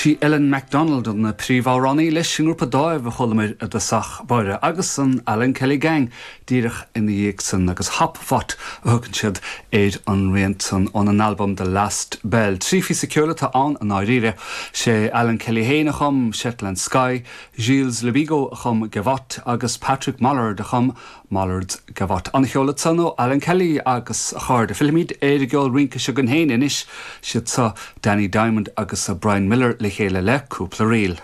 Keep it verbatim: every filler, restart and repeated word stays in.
Sí Ellen MacDonald an príomhamhránaí leis an ngrúpa Dáimh a chualamar i dtosach báire agus an Alan Kelly Gang díreach ina dhiaidh san agus Hop Fot a thugann siad ar an rian san ón an album The Last Bell. Trí phíosa ceoil atá ann i ndáiríre sé Alan Kelly féin a chum Shetland Sky, Gilles Lebigot a chum Gavotte agus Patrick Mollard a chum Mollard's Gavotte. An ceol san ó Alan Kelly agus a chairde. Fillfimid ar an gceol rince seo againn féin anois siad seo Danny Diamond agus Brian Miller le chéile le cúpla ríl.